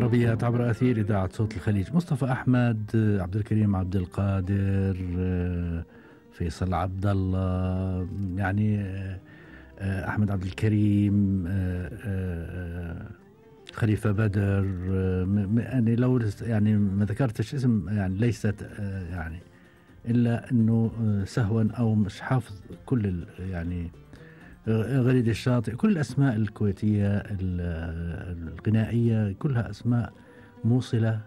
العربيات عبر أثير إذاعة صوت الخليج. مصطفى أحمد، عبد الكريم عبد القادر، فيصل عبد الله، يعني أحمد عبد الكريم، خليفة بدر، يعني لو يعني ما ذكرتش اسم يعني ليست يعني إلا أنه سهوا أو مش حافظ كل يعني غريد الشاطئ، كل الأسماء الكويتية الغنائية كلها أسماء موصلة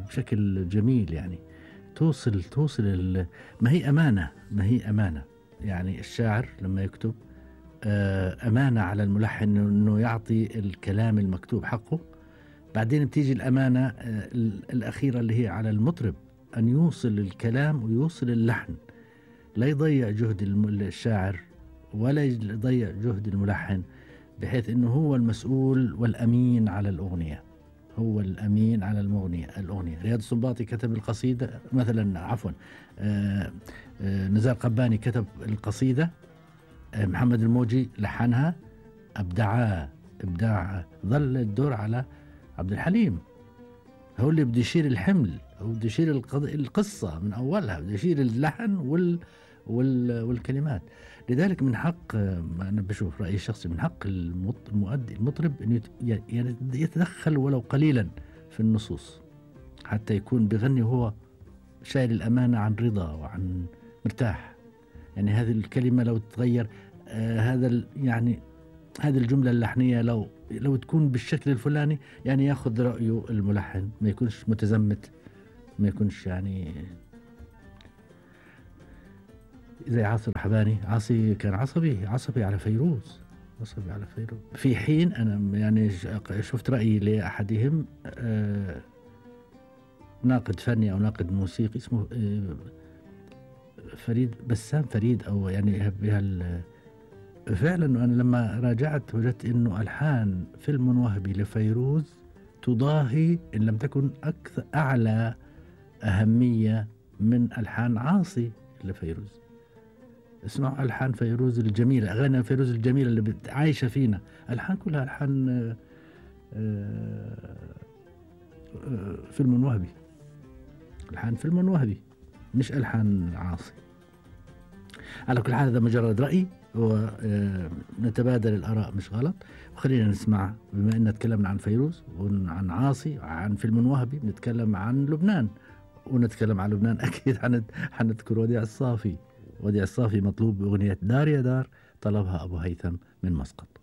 بشكل جميل، يعني توصل ما هي أمانة يعني الشاعر لما يكتب أمانة على الملحن أنه يعطي الكلام المكتوب حقه. بعدين بتيجي الأمانة الأخيرة اللي هي على المطرب أن يوصل الكلام ويوصل اللحن، لا يضيع جهد الشاعر ولا يضيع جهد الملحن، بحيث أنه هو المسؤول والأمين على الأغنية، هو الأمين على الأغنية. رياض السنباطي كتب القصيدة مثلا، عفوا نزار قباني كتب القصيدة، محمد الموجي لحنها، إبداع. ظل الدور على عبد الحليم، هو اللي بده يشيل الحمل، هو بده يشيل القصة من أولها، بده يشيل اللحن والكلمات. لذلك من حق، أنا بشوف رأيي الشخصي، من حق المطرب أن يتدخل ولو قليلا في النصوص، حتى يكون بغني وهو شايل الأمانة عن رضا وعن مرتاح. يعني هذه الكلمة لو تتغير، يعني هذه الجملة اللحنية لو تكون بالشكل الفلاني، يعني ياخذ رأيه الملحن، ما يكونش متزمت، ما يكونش يعني زي عاصي الرحباني. عاصي كان عصبي على فيروز، في حين أنا يعني شفت رأيي لأحدهم، ناقد فني أو ناقد موسيقي اسمه بسام فريد، أو يعني فعلا أنا لما راجعت وجدت إنه ألحان فيلم وهبي لفيروز تضاهي إن لم تكن أعلى أهمية من ألحان عاصي لفيروز. اسمعوا ألحان فيروز الجميلة، أغاني فيروز الجميلة اللي عايشة فينا، ألحان كلها ألحان فيلم وهبي، ألحان فيلم وهبي مش ألحان عاصي. على كل حال هذا مجرد رأي، ونتبادل الآراء مش غلط. وخلينا نسمع، بما أن تكلمنا عن فيروز وعن عاصي وعن فيلم وهبي، نتكلم عن لبنان، ونتكلم عن لبنان أكيد حنذكر وديع الصافي. مطلوب بأغنية دار يا دار، طلبها أبو هيثم من مسقط.